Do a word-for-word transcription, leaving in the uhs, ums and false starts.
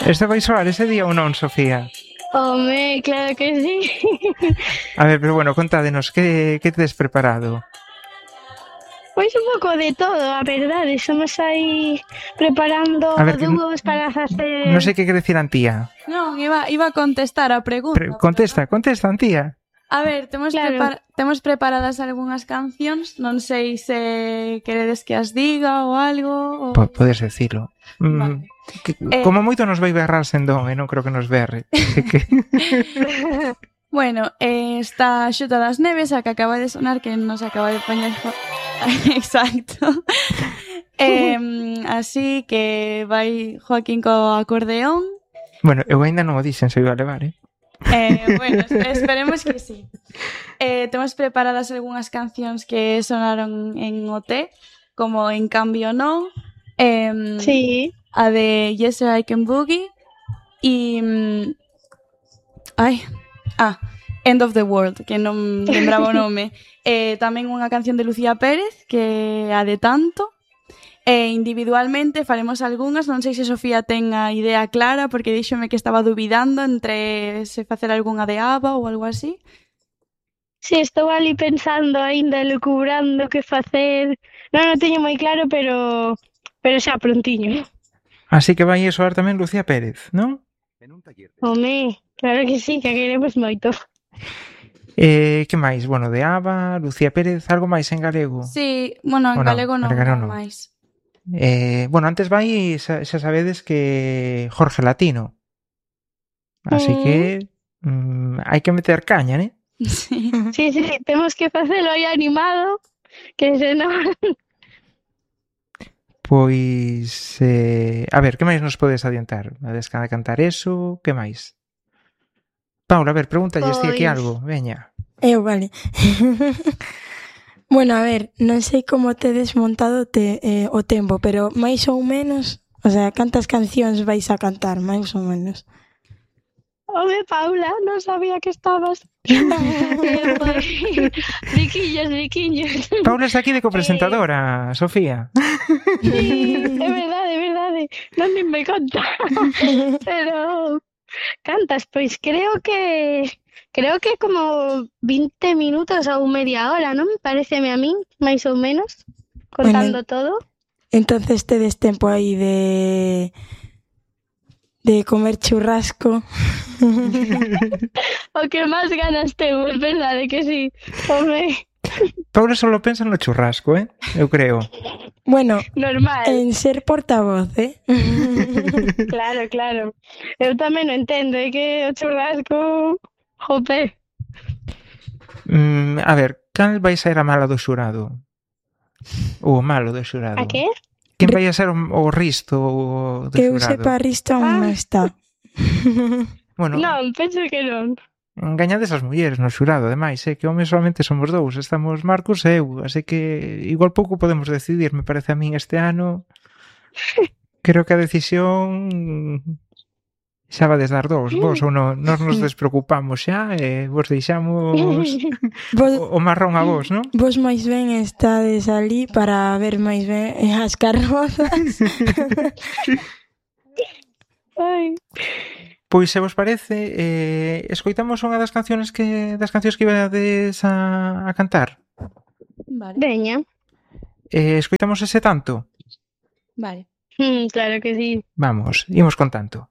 Este vai soar ese día ou non, Sofía? Home, claro que sí. A ver, pero bueno, contádenos, que, que tedes preparado? Pois un pouco de todo, a verdade. Somos aí preparando A ver, que dúos para facer... non sei que quere dicir Antía. Non, iba, iba a contestar a pregunta. Pre contesta, contesta, Antía. A ver, temos, Claro. prepar temos preparadas algunhas cancións, non sei se queredes que as diga ou algo. Ou... Po podes decirlo. Vale. Mm, que, Eh. como moito nos vai berrar Sendón, e non creo que nos berre. Que, que... Bueno, eh, está Xuta das Neves, a que acaba de sonar, que nos acaba de poñer... Exacto. eh, así que vai Joaquín co acordeón. Bueno, eu ainda non o dixen, se iba a levar, eh? Eh, bueno, esperemos que sí. Eh, temos preparadas algunhas cancións que sonaron en O T, como En Cambio Non, eh, Sí. a de Yes Sir I Can Boogie e... Ai, ah, End of the World, que non lembraba o nome. Eh, tamén unha canción de Lucía Pérez, que é a de Tanto. E individualmente faremos algunhas, non sei se Sofía ten a idea clara, porque díxome que estaba dubidando entre se facer algunha de ABBA ou algo así. Si, sí, estou ali pensando aínda, lucubrando que facer. Non o teño moi claro, pero pero xa prontiño. Así que vai a soar tamén Lucía Pérez, non? Home, claro que sí, que a queremos moito. Eh, que máis? Bueno, de ABBA, Lucía Pérez, algo máis en galego? Sí, bueno, en O non? galego non, Galego non non. máis. Eh, bueno, antes vai, xa, xa sabedes que Jorge Latino. Así Mm. que mm, hai que meter caña, né? Sí. Sí, sí, temos que facelo aí animado, que senón... Pois, eh, a ver, que máis nos podes adiantar? A desca de cantar eso, que máis? Paula, a ver, pregúntalle ti aquí Pois- algo, veña. Eu, vale. Bueno, a ver, non sei como tedes montado te, eh, o tempo, pero máis ou menos, o sea, cantas cancións vais a cantar, máis ou menos? Home, Paula, non sabía que estabas. Pero, pois, riquiños, riquiños. Paula está aquí de copresentadora, Sofía. Sí, é verdade, é verdade. Non nin me conta. Pero cantas, pois creo que creo que como vinte minutos ou media hora, non? Pareceme a min, máis ou menos, contando Bueno. todo. Entonces tedes tempo aí de de comer churrasco. O que máis ganas temos, verdade que sí. Home, Paula solo pensa no churrasco, eh? Eu creo. Bueno, normal. en ser portavoz, eh? Claro, claro. Eu tamén o entendo, é que o churrasco... Jope. Mm, a ver, cal vai ser a mala do xurado? Ou o malo do xurado? A que? Quen vai a ser o, o risto o do Que eu xurado? sepa, Risto aún non Ah. está. Bueno, Non, penso que non. engañades as mulleres no xurado, ademais, eh, que homes solamente somos dous, estamos Marcos e eu, así que igual pouco podemos decidir, me parece a min este ano. Creo que a decisión xa vades dar dous, vos ou non, nos nos despreocupamos xa e vos deixamos Vos, o, o marrón a vos, non? vos máis ben estades ali para ver máis ben as carrozas. Ai. Pois se vos parece, eh, escoitamos unha das canciones que das cancións que ibades a, a cantar. Vale, Veña. Eh, escoitamos ese tanto. vale. Mm, claro que sí. Vamos, imos con tanto.